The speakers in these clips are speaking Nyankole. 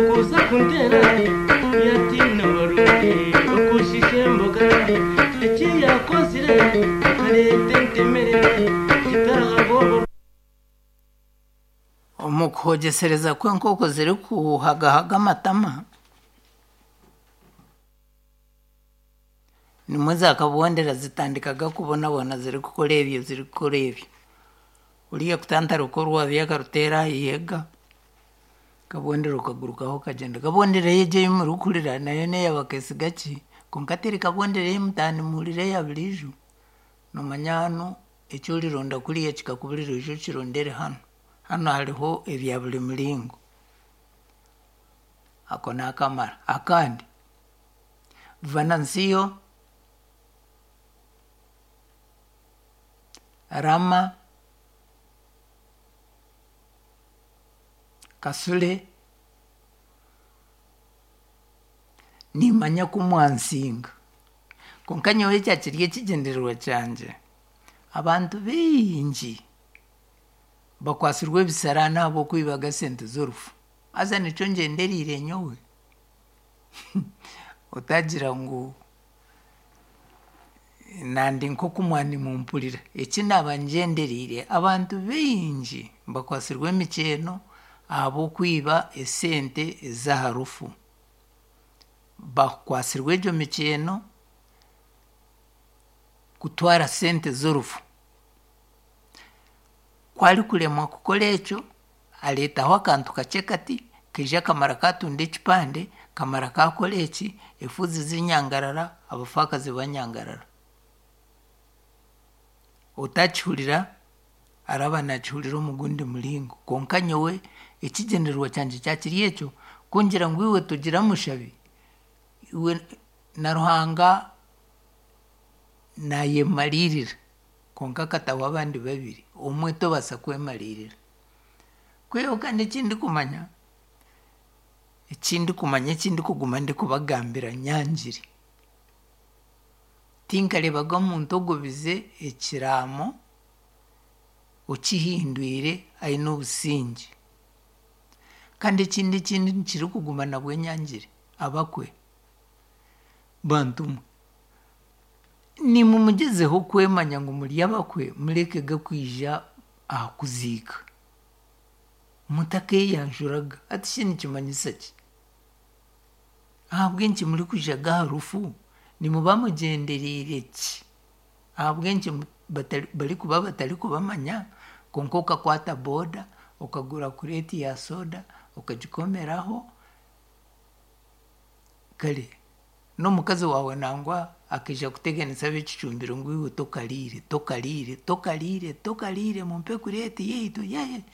Kuza kuntera yatiina barungi okushisha emboga eki yakozire akareeta entemere kitarahabwobo. Omu kuhogyesereza kw'enkooko zirikuhagahaga amatama, nimwo zaakabondera zitandikaga kubonabona zirikukora ebyo zirikukora ebyo. Oriya kutantara orwabya akaruteera aha ihega, kabondera okagurukaho okagyenda. Kabondera egyo ei murikuhurira nayo neeya bakeesiga ki? Kwonka teri kabondera ei mutaaha nimuhurira eya buriijo. Noomanya hanu eki orironda kuriya kikakuburira oije okirondere hanu. Hanu hariho ebya buri muringo. Ako naakamara. Akandi, Vanansiyo, Rama, Kasule, niimanya ku mwansinga. Kwonka nyowe ekya kiri ekigyendererwa kyangye, abantu baingi bakwatsirwe ebisaraani ahabw'okwibaga esente z'orufu. Haza nikyo ngyendereire nyowe. Otagira ngu nandi nk'oku mwanimumpurira. Eki naaba ngyendereire, abantu baingi bakwatsirwe emikyeno ahabw'okwiba esente ez'aha rufu. Bakwatsirwe egyo mikyeno kutwara sente z'orufu. Ku arikuremwa kukora ekyo, areetaho akantu kakye kati, kaija kamara kaatunda ekipande, kamara kaakora eki, efuuzi zinyangarara, abafaakazi banyangarara. Otakihurira araba naakihurira omu gundi muringo. Kwonka nyowe ekigyendererwa kyangye kyakiri ekyo, ku ngira ngu iwe togira mushabi, iwe na Ruhanga naayemariirira kwonka akataho abandi babiri, omwe tobaasa kwemariirira. Kwihaho kandi eki ndikumanya, eki ndikumanya eki ndikuguma ndikubagambira nyangire, tinkareebaga omuntu ogobize ekiraamo okihindwire aine obusingye. Kandi ekindi ekindi kirikuguma nabwe nyangire, abakwe bantu mwe, nimwe mugyezeho kwemanya ngu muri abakwe murekege kwija aha kuziika mutakeeyanjuraga. Hati shi nikimanyisa ki? Ahabw'enki murikwijaga aha rufu? Nimuba mugyendereire ki? Ahabw'enki barikuba batarikubamanya kwonka okakwata boda okagura kureeti ya soda okagikomeraho kare n'omukazi waawe nangwa akaija kuteganisa ab'ekicumbiro ngu iwe tokariire, tokariire, tokariire, tokariire mumpe kureeti yaitu yeye.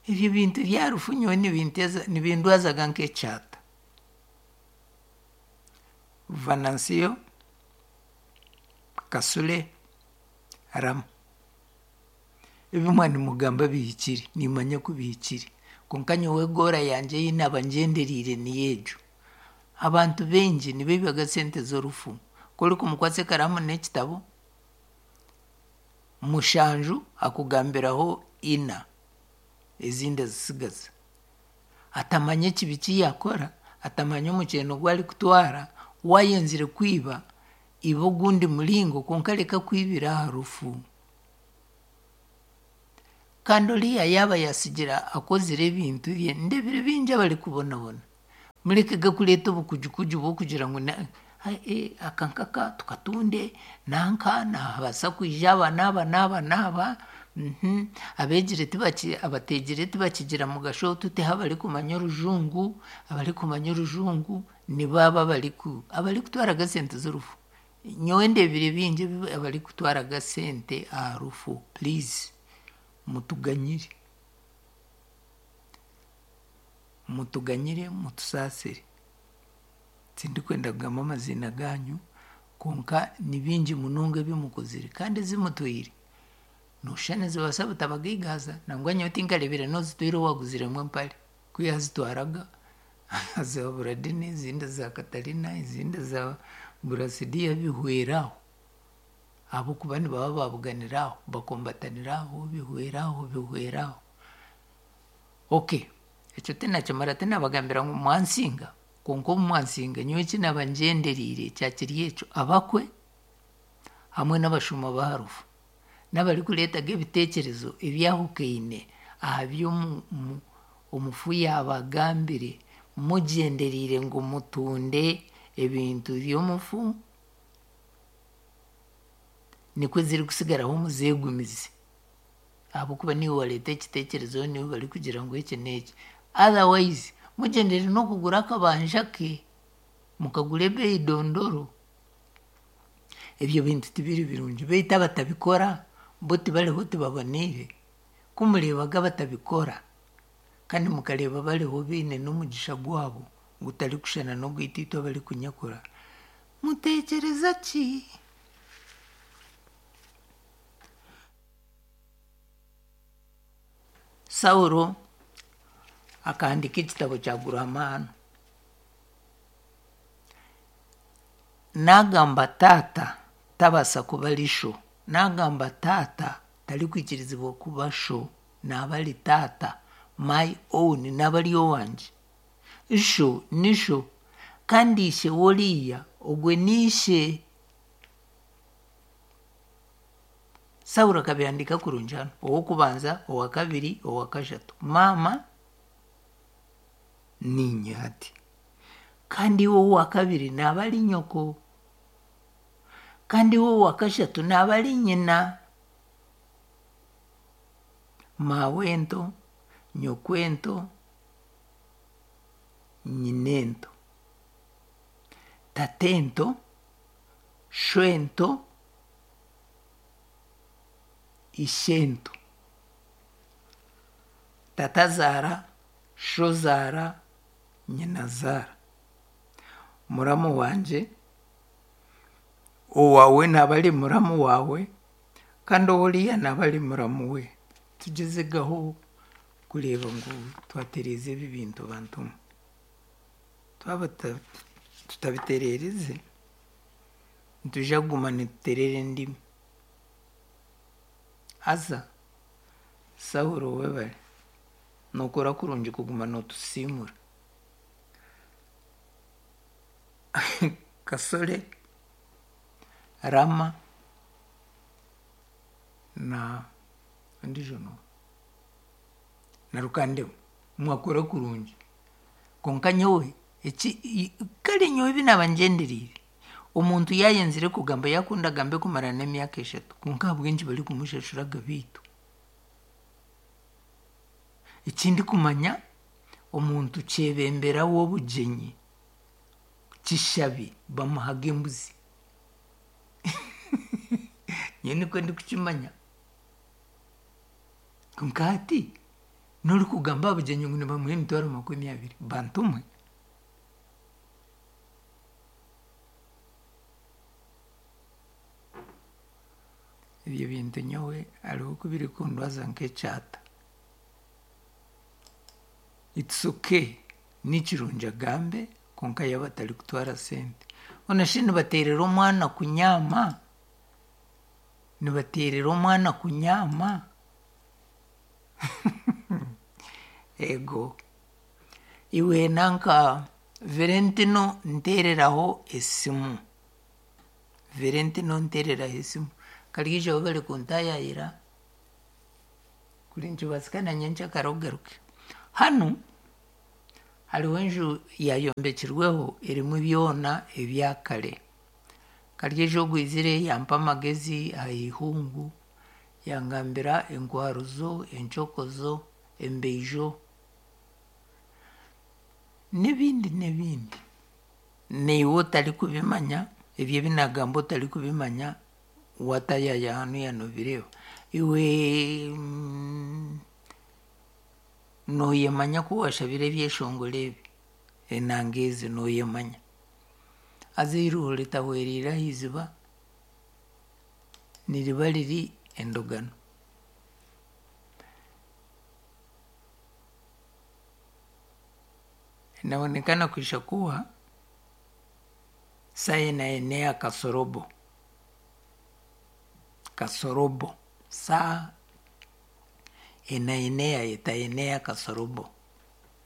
Ebyo bintu bya rufu nyowe nibindwazaga nk'ekyata. Vanansiyo, Kasule, Rama. Ebi mwanimugamba bihikire, niimanya ku bihikire. Kwonka nyowe goora yangye ei naaba ngyendereire niyo egyo. Abantu baingi nibaibaga sente z'orufu. Ku orikumukwatsa ekaraamu n'ekitabo, mushanju akugambiraho ina, ezindi azitsigaza. Atamanya ekibi ki yaakora, atamanya omukyeno ogu arikutwara, waayenzire kwiba, iba ogundi muringo kwonka reka kwibira aha rufu. Kandi oriya yaaba yaatsigira akozire ebintu bye, ndeebire baingi abarikubonabona. Murekege kureeta obukujukuju bw'okugira ngu aka nkaka tukatunde, nanka naabaasa kwija aba n'aba n'aba n'aba, abeegire abateegire tibakigira mugasho tuteho abarikumanya orujungu, abarikumanya orujungu nibo abo abarikutwaraga esente z'orufu. Nyowe ndeebire baingi abarikutwaraga sente aha rufu please mutuganyire. Mutuganyire mutusaasire. Tindikwenda kugamba amaziina gaanyu kwonka ni bingi munonga ebi mukozire kandi ezi mutwaire nooshusha nizibaasa butabagaigaaza nangwa nyowe tinkareebire n'ozitwaire owaaguziremu empare ku yaazitwaraga aziha Buradini ezindi aziha Katarina ezindi aziha Burasidiya bihwera aho ahabw'okuba nibaba baabuganira aho bakombatanira aho bihwera aho bihwera aho. Okay. Ekyo tinakimara tinabagambira ngu mwansinga kwonka obu mwansinga nyowe eki naaba ngyendereire kyakiri ekyo abakwe hamwe n'abashuma b'aha rufu n'abarikureetaga ebiteekyerezo ebyahukaine aha bi omufu yaaba agambire mugyendereire ngu mutunde ebintu by'omufu nikwo zirikusigaraho muzeegumize ahabw'okuba niiwe wareeta ekiteekyerezo niiwe barikugira ngu eki n'eki. Otherwise mugyendere n'okugura akabanja ke mukagura ebeeyi dondoro. Ebyo bintu tibiri birungi beitu abatabikora bo tibariho tibaboneire. Ku mureebaga abatabikora kandi mukareeba bariho baine n'omugisha gwabo gutarikushushana n'ogwaitu itwe abarikunyakura, muteekyereza ki? Saulo akahandiika ekitabo kyagura amaani. Naagamba taata tabaasa kuba ari sho. Naagamba taata tarikwikirizibwa kuba sho. Naaba ari taata my own naaba ari owangye. Sho ni sho kandi ishe w'oriiya ogwe ni ishe. Saulo akabihandiika kurungi hanu ow'okubanza, owakabiri, owakashatu. Maama niinye hati. Kandi iwe owakabiri naaba ari nyoko. Kandi iwe owakashatu naaba ari nyina. Maawento, nyokwento, nyinento. Tatento, shwento, ishento. Tatazaara, shozaara, nyinazaara. Muramu wangye, owaawe naaba ari muramu waawe kandi ow'oriya naaba ari muramu we. Tugyezegaho kureeba ngu twatereeza ebi bintu bantu mwe. Twaba tutabitereerize, nitwija kuguma nituteerera endimi. Haza Saulo webare, nookora kurungi kuguma nootusiimura. Kasore, Rama na ondiijo n'oha? Na Rukandema mwakora kurungi. Kwonka nyowe eki kare nyowe ebi naaba ngyendereire, omuntu yaayenzire kugamba yaakunda agambe kumara n'emyaka eshatu kwonka ahabw'enki barikumushashura agabiitu? Ekindikumanya omuntu kyebembera w'obugyenyi kishabi bamuhaga embuzi. Nyowe nikwo ndikukimanya. Kwonka hati n'orikugamba aha bugyenyi ngu nibamuha emitwaro 20 bantu mwe. Ebyo bintu nyowe hariho oku birikundwaza nk'ekyata. It's okay ni kirungi agambe kwonka yaaba atarikutwara sente. Hoona shi nibateerera omwana kunyaama? Nibateerera omwana kunyaama? Eego. Iwe nanka Valentino nteereraho esimu. Valentino nteereraho esimu. Kariija webare kuntaayaayira kuri nikibaasika na nyenkyakara ogaruke. Hanu hariho enju yaayombekirweho erimu byona ebya kare. Karyeija ogwizire yampa amagezi aha ihungu, yangambira enkwaruzo, encokozo, embeijo n'ebindi n'ebindi. Naiwe otarikubimanya, ebyo ebi naagamba otarikubimanya, waataayaaya hanuya noobireeba. Iwe nooyemanya ku waashabire ebyeshongoro ebi, enanga ezi nooyemanya. Haza eiruho ritahwereire aha iziba, niriba riri endogano. Inaonekana kuisha kuwa saa inaenea kasorobo kasorobo saa inaenea itaenea kasorobo.